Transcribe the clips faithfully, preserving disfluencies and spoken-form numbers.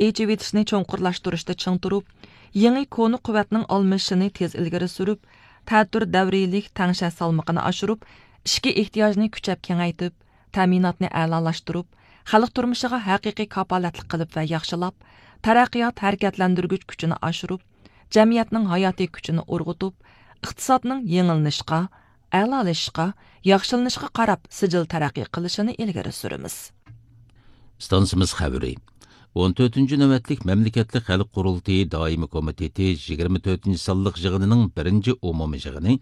ئېچىۋېتىشنى چوڭقۇرلاشتۇرۇشتا چىڭ تۇرۇپ، يېڭى كونا قۇۋۋەتنىڭ ئالمىشىشىنى تېز ئىلگىرى سۈرۈپ، تەتۈر دەۋرىيلىك تەڭشەش سالمىقىنى ئاشۇرۇپ، ئىچكى ئېھتىياجنى كۈچەپ كېڭەيتىپ، تەمىناتنى ئەلالاشتۇرۇپ، خەلق تۇرمۇشىغا ھەقىقىي كاپالەتلىك قىلىپ ۋە ياخشىلاپ، تەرەققىيات ھەرىكەتلەندۈرگۈچ كۈچىنى ئاشۇرۇپ، جەمئىيەتنىڭ ھاياتىي كۈچىنى ئۇرغۇتۇپ، ئىقتىسادنىڭ يېڭىلىنىشقا، ئەلالىشىشقا، ياخشىلىنىشقا قاراپ سىجىل تەرەققىي قىلىشىنى ئىلگىرى سۈرىمىز. ئىستانسىمىز خەۋىرى. ئون تۆتىنچى نۆۋەتلىك مەملىكەتلىك خەلق قۇرۇلتىيى دائىمىي كومىتېتى يىگىرمە تۆتىنچى سانلىق يىغىنىنىڭ بىرىنچى ئومۇمىي يىغىنى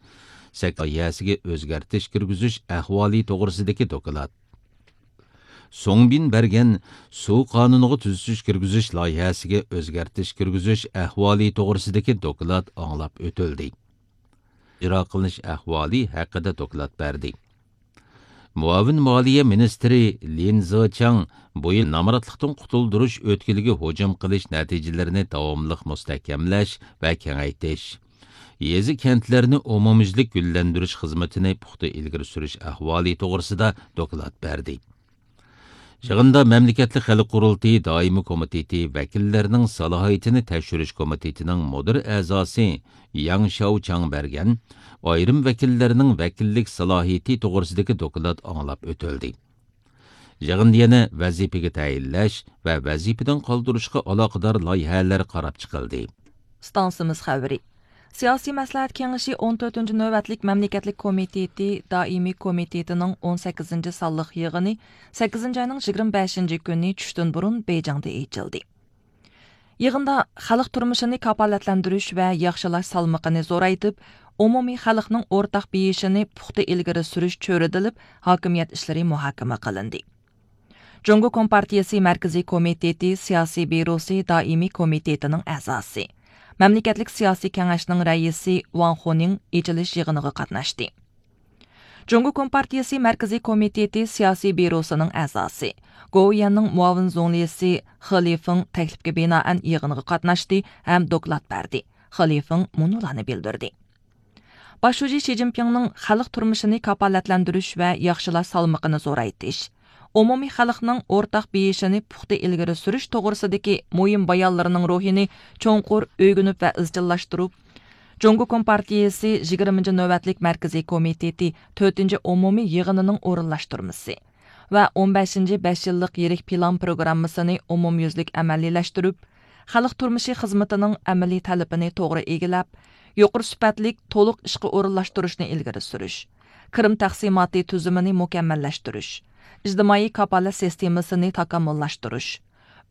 سەككىز لايىھەسىگە ئۆزگەرتىش كىرگۈزۈش ئەھۋالى توغرىسىدىكى دوكلات. سۇڭبىن بەرگەن سۇ قانۇنىغا تۈزىتىش كىرگۈزۈش لايىھەسىگە ئۆزگەرتىش كىرگۈزۈش ئەھۋالى توغرىسىدىكى دوكلات ئاڭلاپ ئۆتۈلدى. ئىجرا قىلىنىش ئەھۋالى ھەققىدە دوكلات بەردى. مۇئاۋىن مالىيە مىنىستىرى لىن زېچاڭ بۇ يىل نامراتلىقتىن قۇتۇلدۇرۇش ئۆتكىلىگە ھۇجۇم قىلىش نەتىجىلىرىنى داۋاملىق مۇستەھكەملەش ۋە كېڭەيتىش، يېزا، كەنتلەرنى ئومۇميۈزلۈك گۈللەندۈرۈش خىزمىتىنى پۇختا ئىلگىرى سۈرۈش ئەھۋالى توغرىسىدا دوكلات بەردى. يىغىندا مەملىكەتلىك خەلق قۇرۇلتىيى دائىمىي كومىتېتى ۋەكىللىرىنىڭ سالاھىيىتىنى تەكشۈرۈش كومىتېتىنىڭ مۇدىر ئەزاسى ياڭ شياۋچاڭ بەرگەن ئايرىم ۋەكىللەرنىڭ ۋەكىللىك سالاھىيىتى توغرىسىدىكى دوكلات ئاڭلاپ ئۆتۈلدى. يىغىندا يەنە ۋەزىپىگە تەيىنلەش ۋە ۋەزىپىدىن قالدۇرۇشقا ئالاقىدار لايىھەلەر قاراپ چىقىلدى. ئىستانسىمىز خەۋىرى. سىياسىي مەسلىھەت كېڭىشى ئون تۆتىنچى نۆۋەتلىك مەملىكەتلىك كومىتېتى دائىمىي كومىتېتىنىڭ ئون سەككىزىنچى سانلىق يىغىنى سەككىزىنچى ئاينىڭ يىگىرمە بەشىنچى كۈنى چۈشتىن بۇرۇن بېيجىڭدا ئېچىلدى. يىغىندا خەلق تۇرمۇشىنى كاپالەتلەندۈرۈش ۋە ياخشىلاش سالمىقىنى زورايتىپ، ئومۇمىي خەلقنىڭ ئورتاق بېيىشىنى پۇختا ئىلگىرى سۈرۈش چۆرىدىلىپ، ھاكىمىيەت ئىشلىرى مۇھاكىمە قىلىندى. جۇڭگو كومپارتىيىسى مەركىزىي كومىتېتى سىياسىي بيۇروسى دائىمىي كومىتېتىنىڭ ئەزاسى، مەملىكەتلىك سىياسىي كېڭەشنىڭ رەئىسى ۋاڭ خۇنىڭ ئېچىلىش يىغىنىغا قاتناشتى. جۇڭگو كومپارتىيىسى مەركىزىي كومىتېتى سىياسىي بيۇروسىنىڭ ئەزاسى، گوۋۇيۈەننىڭ مۇئاۋىن زۇڭلىسى خې لىفېڭ تەكلىپكە بىنائەن يىغىنغا قاتناشتى ھەم دوكلات بەردى. خې لىفېڭ مۇنۇلارنى بىلدۈردى. باش شۇجى شى جىنپىڭنىڭ خەلق تۇرمۇشىنى كاپالەتلەندۈرۈش ۋە ياخشىلاش سالمىقىنى زورايتىش، ئومۇمىي خەلقنىڭ ئورتاق بېيىشىنى پۇختا ئىلگىرى سۈرۈش توغرىسىدىكى مۇھىم بايانلىرىنىڭ روھىنى چوڭقۇر ئۆگىنىپ ۋە ئىزچىللاشتۇرۇپ، جۇڭگو كومپارتىيىسى يىگىرمىنچى نۆۋەتلىك مەركىزىي كومىتېتى تۆتىنچى ئومۇمىي يىغىنىنىڭ ئورۇنلاشتۇرمىسى ۋە ئون بەشىنچى بەش يىللىق يىرىك پىلان پروگراممىسىنى ئومۇميۈزلۈك ئەمەلىيلەشتۈرۈپ، خەلق تۇرمۇشى خىزمىتىنىڭ ئەمەلىي تەلىپىنى توغرا ئىگىلەپ، يۇقىرى سۈپەتلىك، تولۇق ئىشقا ئورۇنلاشتۇرۇشنى ئىلگىرى سۈرۈش، كىرىم تەقسىماتى تۈزۈمىنى مۇكەممەللەشتۈرۈش، ئىجتىمائىي كاپالەت سىستېمىسىنى تاكامۇللاشتۇرۇش،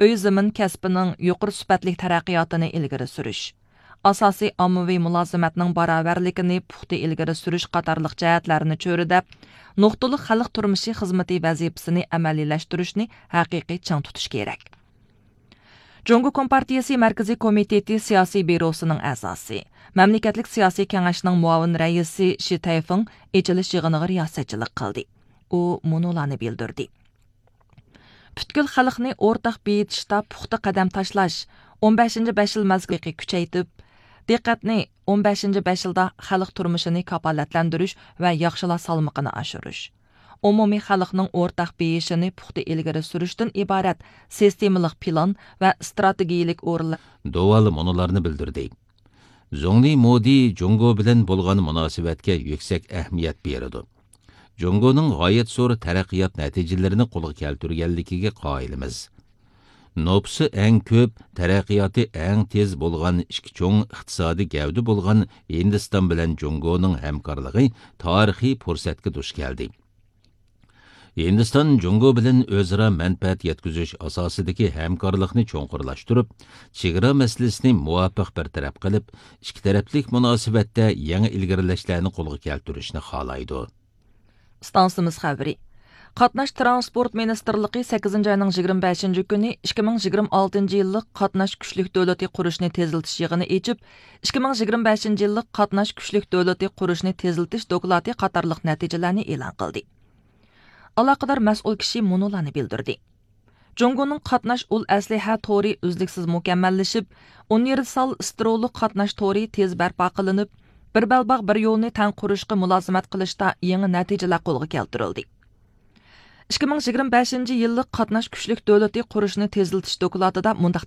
ئۆي زېمىن كەسپىنىڭ يۇقىرى سۈپەتلىك تەرەققىياتىنى ئىلگىرى سۈرۈش، ئاساسىي ئاممىۋى مۇلازىمەتنىڭ باراۋەرلىكىنى پۇختا ئىلگىرى سۈرۈش قاتارلىق جەھەتلەرنى چۆرىدەپ، نۇقتىلىق خەلق تۇرمۇشى خىزمىتى ۋەزىپىسىنى ئەمەلىيلەشتۈرۈشنى ھەقىقىي چىڭ تۇتۇش كېرەك. جۇڭگو كومپارتىيىسى مەركىزىي كومىتېتى سىياسىي بيۇروسىنىڭ ئەزاسى، مەملىكەتلىك سىياسىي كېڭەشنىڭ مۇئاۋىن رەئىسى شى تەيفېڭ ئېچىلىش يىغىنىغا رىياسەتچىلىك قىلدى. ئۇ مۇنۇلارنى بىلدۈردى. پۈتكۈل خەلقنى ئورتاق بېيىتىشتا پۇختا قەدەم تاشلاش، ئون بەشىنچى بەش يىل مەزگىلى كۈچەيتىپ، دىققەتنى ئون بەشىنچى بەش يىلدا خەلق تۇرمۇشىنى كاپالەتلەندۈرۈش ۋە ياخشىلاش سالمىقىنى ئاشۇرۇش، ئومۇمىي خەلقنىڭ ئورتاق بېيىشىنى پۇختا ئىلگىرى سۈرۈشتىن ئىبارەت سىستېمىلىق پىلان ۋە ئىستراتېگىيىلىك ئورۇنلار. دوۋال مۇنۇلارنى بىلدۈردى. زۇڭلى مودى جۇڭگو بىلەن بولغان مۇناسىۋەتكە يۈكسەك ئەھمىيەت بېرىدۇ. جۇڭگونىڭ غايەت زور تەرەققىيات نەتىجىلىرىنى قولغا كەلتۈرگەنلىكىگە قايىلمىز. نوپۇسى ئەڭ كۆپ، تەرەققىياتى ئەڭ تېز بولغان ئىككى چوڭ ئىقتىسادىي گەۋدە بولغان ھىندىستان بىلەن جۇڭگونىڭ ھەمكارلىقى تارىخىي پۇرسەتكە دۇچ كەلدى. ھىندىستان جۇڭگو بىلەن ئۆزئارا مەنپەئەت يەتكۈزۈش ئاساسىدىكى ھەمكارلىقنى چوڭقۇرلاشتۇرۇپ، چېگرا مەسىلىسىنى مۇۋاپىق بىر تەرەپ قىلىپ، ئىككى تەرەپلىك مۇناسىۋەتتە يېڭى ئىلگىرىلەشلەرنى قولغا كەلتۈرۈشنى خالايدۇ. ئىستانسىمىز خەۋىرى. قاتناش تىرانسپورت مىنىستىرلىقى سەككىزىنچى ئاينىڭ يىگىرمە بەشىنچى كۈنى ئىككى مىڭ يىگىرمە ئالتىنچى يىللىق قاتناش كۈچلۈك دۆلىتى قۇرۇشنى تېزلىتىش يىغىنى ئېچىپ، ئىككى مىڭ يىگىرمە بەشىنچى يىللىق قاتناش كۈچلۈك دۆلىتى قۇرۇشنى تېزلىتىش دوكلاتى قاتارلىق نەتىجىلەرنى ئېلان قىلدى. ئالاقىدار مەسئۇل كىشى مۇنۇلارنى بىلدۈردى. جۇڭگونىڭ قاتناش ئۇل ئەسلىھە تورى ئۈزلۈكسىز مۇكەممەللىشىپ، ئۇنىۋېرسال ستېرېئولۇق قاتناش تورى تېز بەرپا قىلىنىپ، بىر بەلباغ بىر يولنى تەڭ قۇرۇشقا مۇلازىمەت قىلىشتا يېڭى نەتىجىلەر قولغا كەلتۈرۈلدى. ئىككى مىڭ يىگىرمە بەشىنچى يىللىق قاتناش كۈچلۈك دۆلىتى قۇرۇشنى تېزلىتىش دوكلاتىدا مۇنداق